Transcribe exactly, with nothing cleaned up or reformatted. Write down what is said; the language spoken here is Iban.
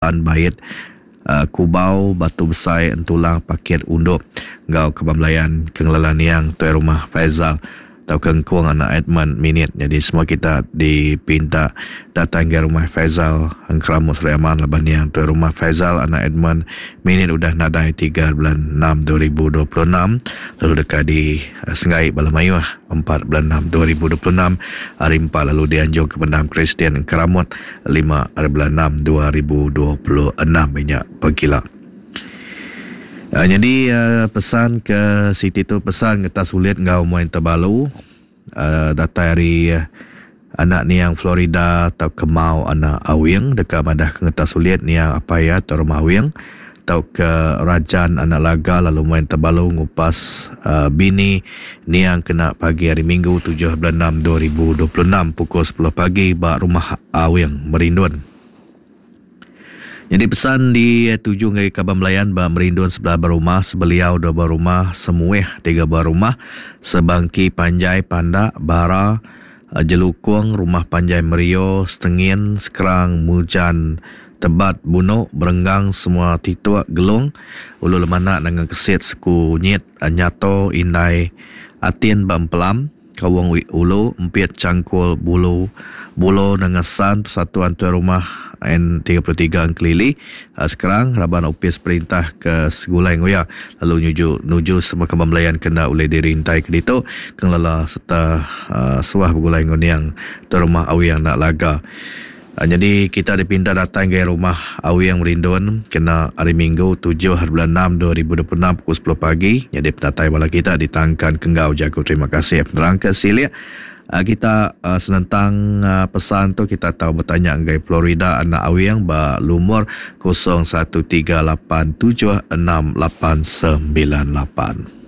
Bait, Kubau, Batu Besai, Entulang, Pakit, Undup enggau Kaban Belayan ke ngelala niang Tuai Rumah Faizal tauka Engkung anak Edmund Minit. Nyadi semua kita dipinta datai ngagai Rumah Faizal Engkeramut Sri Aman laban niang Tuai Rumah Faizal anak Edmund Minit udah nadai tiga bulan enam dua ribu dua puluh enam lalu deka disenggai bala mayuh empat bulan enam dua ribu dua puluh enam hari empat lalu dianjung ke pendam Kristian Engkeramut lima hari bulan enam dua ribu dua puluh enam nya pegila. Uh, jadi uh, pesan ke siti tu pesan ngetas ulit enggau muai tebalu uh, datai hari uh, anak niang Florida atau Kemau anak Awing deka madah ke ngetas ulit niang apai iya atau rumah Awing atau ke Rajan anak Laga lalu muai tebalu ngupas uh, bini niang kena pagi hari Minggu tujuh bulan enam dua ribu dua puluh enam pukul sepuluh pagi ba rumah Awing Merindun. Jadi pesan dituju ngagai kaban belayan ba Merindun sebelah berumah, sebeliau dua berumah, semuih tiga berumah, sebangki panjai pandak, bara, jelukung, rumah panjai Merio, Setengin, Sekerang, Mujan, Tebat, Bunuk, Berenggang, semua tituk, Gelung, Ulu Lemanak, Nangang Kesit, Seku Nyit, Nyato, Indai, Atin, Bampelam, Kawung Ulu, Empit, Cangkul, Bulu, Bulo, Nangasan, Persatuan Tuan Rumah N tiga puluh tiga Engkelili. Sekarang raban opis perintah ke Segulai Nguya lalu nuju nuju semua kaban belayan kena oleh dirintai ke ditu kengelela serta uh, suah begulai nguniang Tuan Rumah Awing nak laga. Uh, jadi kita dipindah datang ke rumah Awing Merindun kena hari Minggu tujuh bulan enam dua ribu dua puluh enam pukul sepuluh pagi. Jadi penatai bala kita ditangkan kenggau jago terima kasih penerang ke silik. Uh, kita uh, senentang uh, pesan tu kita tahu bertanya ngagai Florida anak Awing ba lumur kosong satu tiga lapan tujuh enam lapan sembilan lapan.